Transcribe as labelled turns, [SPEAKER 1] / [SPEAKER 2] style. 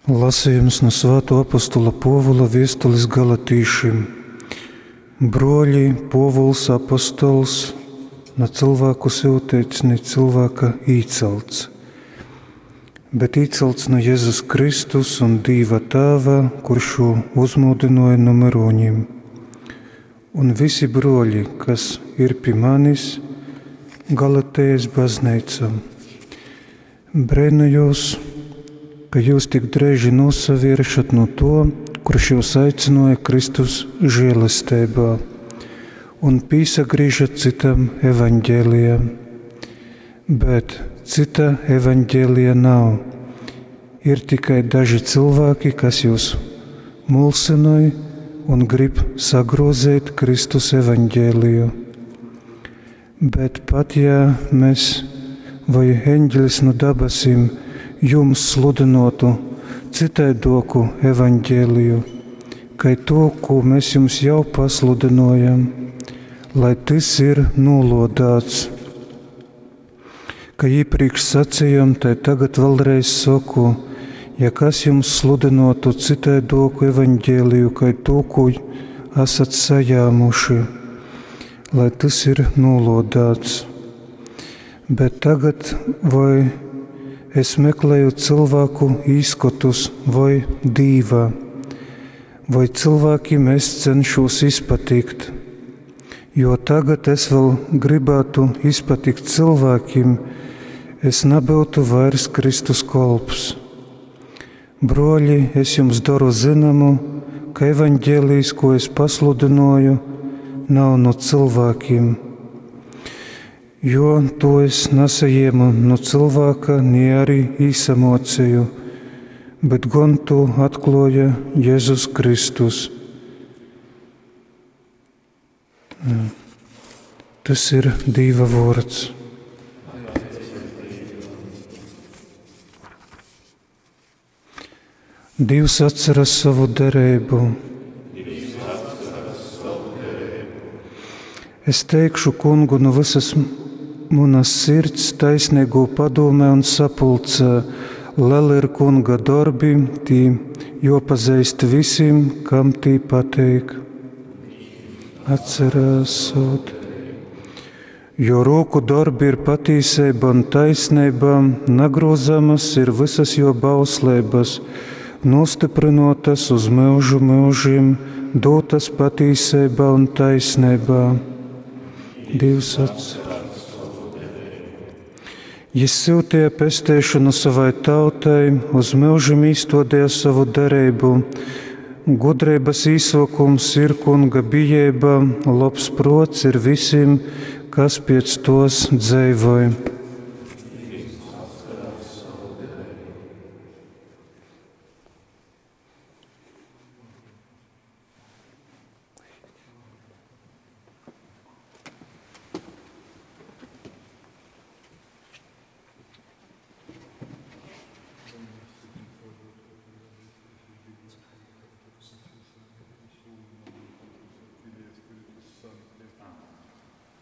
[SPEAKER 1] Lasījums no Svāto apostula Pōvula viestulis galatīšim. Bruoļi, Pōvuls apostols, na cylvāku syuteits, ni cylvāka īcalts, bet īcalts nu Jezus Kristus un Dīva Tāva, kurš jū uzmūdynuoja nu myrūņim. Un visi bruoļi, kas ir pi manis, Galatejas bazneicom. Breinojos, ka jūs tik dreiži nūsavieršat nu tuo, kurš jūs aicināja Kristus žēlesteibā un pīsagrīžat citam evaņģēlijam. Bet cita evaņģēlija nav. Ir tikai daži cilvēki, kas jūs mulsinoj un grib sagrozēt Kristus evaņģēliju. Bet pat ja mēs vai eņģelis no dabasim jums sludinotu citaidoku evaņģēliju, kai to, ko mēs jums jau pasludinojam, lai tys ir nolodāts. Ka iepriekš sacījām, tai tagad vēlreiz saku, ja kas jums sludinotu citaidoku evaņģēliju, kai to, ko esat sajāmuši, lai tys ir nolodāts. Bet tagad vai es meklēju cilvēku īskotus vai Dīva, vai cilvēkiem es cenšos izpatikt, jo tagad es vēl gribētu izpatikt cilvēkiem, es nebūtu vairs Kristus kolps. Broļi, es jums daru zināmu, ka evaņģēlijs, ko es pasludināju, nav no cilvēkiem, jo to es nesaņēmu no cilvēka, ni arī īsamocīju, bet gan to atklāja Jēzus Kristus. Tas ir Dieva vārds. Dievs atceras savu derību. Es teikšu kungu no visas manas sirds taisnīgo padomē un sapulcē. Lieli ir kunga darbi, tī jopazīst visiem, kam tī pateik. Atcerās savu Jo roku darbi ir patīsība un taisnība, nagrozamas ir visas jo bauslības, nostiprinotas uz mūžu mūžiem, dotas patīsībā un taisnībā. Dievs atcer. Jis sūtīja pesteišanu savai tautai, uz mūžiem īstodīja savu derību. Gudrības īsokums ir kunga bijība, labs prots ir visiem, kas pēc tos dzīvoja.